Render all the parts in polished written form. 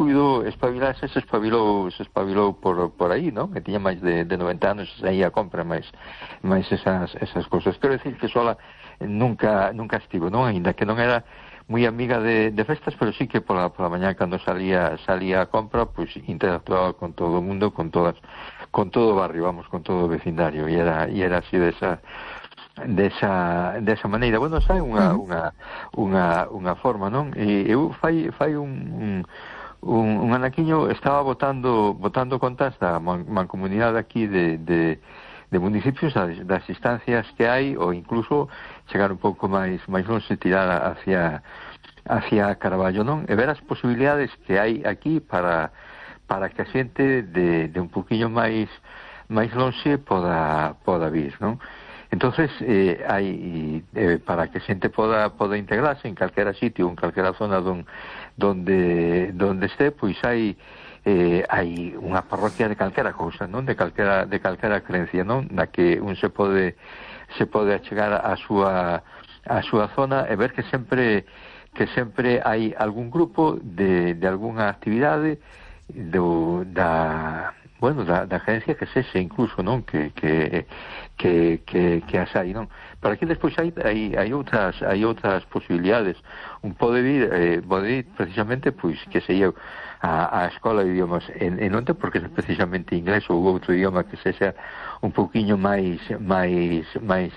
puido espabilarse, se espabilou por aí, non? Que tiña máis de 90 anos e aí a compra máis esas cousas. Quero decir que sola nunca estivo, non? Ainda que non era moi amiga de festas, pero sí que pola mañá cando salía a compra, pois interactuaba con todo o mundo, con todo o barrio, vamos, con todo o vecindario, e era así desa maneira. Bueno, sai unha forma, non? E eu fai un anaquiño estaba botando contas da mancomunidade aquí de municipios, das instancias que hai, ou incluso chegar un pouco máis longe, tirar hacia Carballo, non? E ver as posibilidades que hai aquí para que a xente de un poquinho máis longe poda vir, non? Entonces, hai para que a xente poda integrarse en calquera sitio, en calquera zona donde esté, pois hai unha parroquia de calquera cousa, non? De calquera creencia, non? Na que un se pode achegar a súa zona e ver que sempre hai algún grupo de algunha actividade da agencia que sexe incluso, non? Que as hai, non? Pero aquí despois hai outras posibilidades. Un pode vir precisamente, pois, que sei eu, a escola de idiomas en onte, porque é precisamente inglés ou outro idioma que sexa un pouquiño máis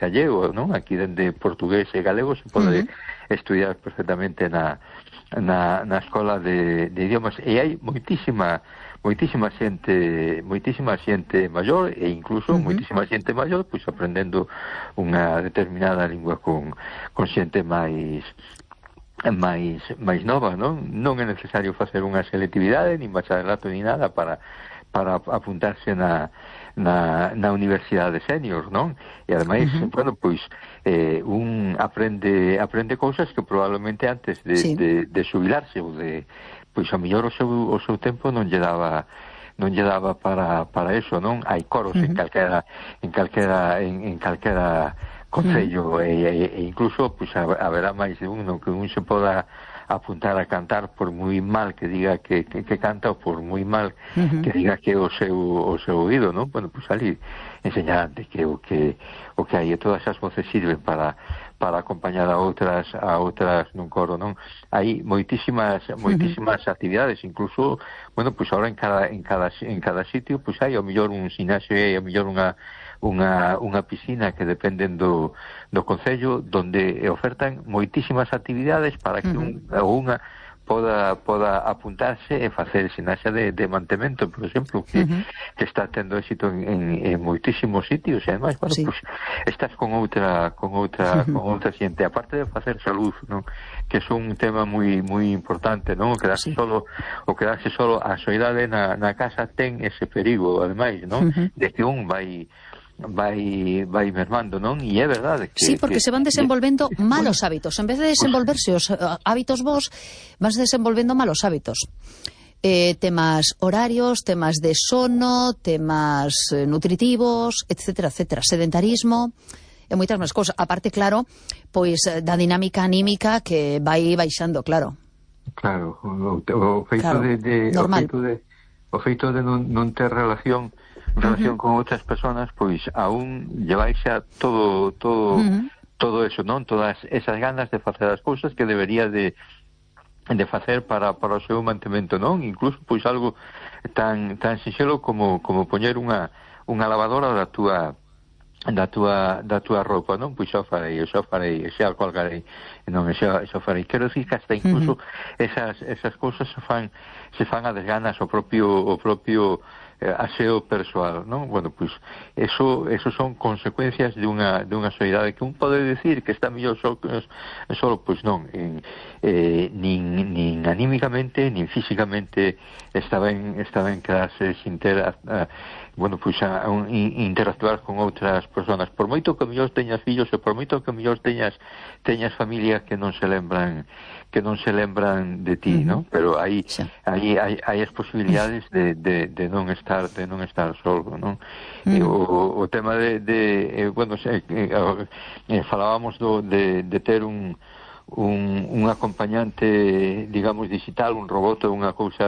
allego, non? Aquí dende portugués e galego se pode estudiar perfectamente na escola de idiomas, e hai moitísima xente maior, e incluso moitísima xente maior pois aprendendo unha determinada lingua con xente máis nova, non? Non é necesario facer unha selectividade nin bacharelato ni nada para apuntarse na universidade senior, non? E ademais, bueno, pois un aprende cousas que probablemente antes de xubilarse ou de, pois a mellor o seu tempo non lle daba para eso, non? Hai coros en calquera concello, e incluso pois haberá máis de un, non? Que un se poda apuntar a cantar por moi mal que diga que canta, ou por moi mal que diga que o seu oído, non? Bueno, pois ali enseñarante que o que hai, e todas as voces sirven para acompañar a outras nun coro, non? Hai moitísimas actividades, incluso, bueno, pois agora en cada sitio pois hai ao mellor un ximnasio e ao mellor unha piscina que dependen do concello, donde ofertan moitísimas actividades para que unha poda apuntarse e facer ximnasia de mantemento, por exemplo, que está tendo éxito en moitísimos sitios, e ademais, bueno, pues, estás con outra xente, aparte de facer salud, non? Que é un tema moi importante, non? O quedarse solo a soidade na casa ten ese perigo, ademais, non? De que un vai mermando, non? E é verdade que... Sí, porque se van desenvolvendo malos hábitos. En vez de desenvolverse os hábitos bons, vas desenvolvendo malos hábitos. Temas horarios, temas de sono, temas nutritivos, etcétera, etcétera. Sedentarismo e moitas máis cousas. Aparte, claro, pois da dinámica anímica que vai baixando, claro. Claro, o feito de non ter relación con outras persoas, pois aún lleváis a todo eso, non? Todas esas ganas de facer as cousas que debería de facer para o seu mantemento, non? Incluso pois algo tan sinxelo como poñer unha lavadora da túa roupa, non? Pois xa farei, xa colgarei, non, xa farei. Quero dicir que hasta incluso esas cousas se fan a desganas o propio aseo persoal, non? Bueno, pois eso son consecuencias de unha soidade que un pode decir que está mellor solo, pois non, nin anímicamente, nin físicamente está ben quedarse sin ter bueno, pois interactuar con outras persoas, por moito que mellor teñas fillos e por moito que mellor teñas familia que non se lembran de ti, non? Pero aí as posibilidades de non estar solo, non? O tema bueno, falábamos de ter un acompañante, digamos, digital, un robot ou unha cousa